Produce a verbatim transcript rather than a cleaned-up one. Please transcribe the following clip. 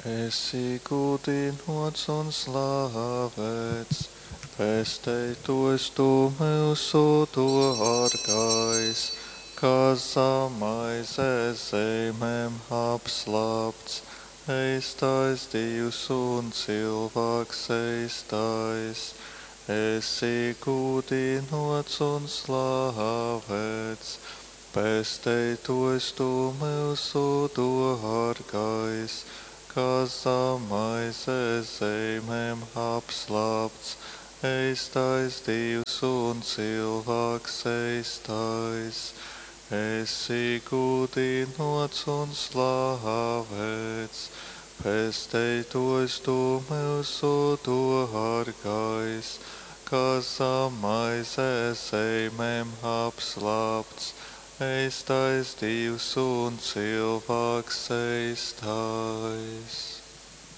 Esi gūdinots un slavēts, pesteitōjs tu myusu dōrgais, kas zam maizes zeimēm apslāpts, eistais Dīvs un cylvāks eistais. Esi gūdinots un slavēts, pesteitōjs tu myusu dōrgais, kas zam maizes zeimēm apslāpts, eistais Dīvs un cylvāks eistais. Esi gūdinots un slavēts, pesteitōjs tu myusu dōrgais, kas zam maizes zeimēm apslāpts, eistais Dīvs un cylvāks eistais.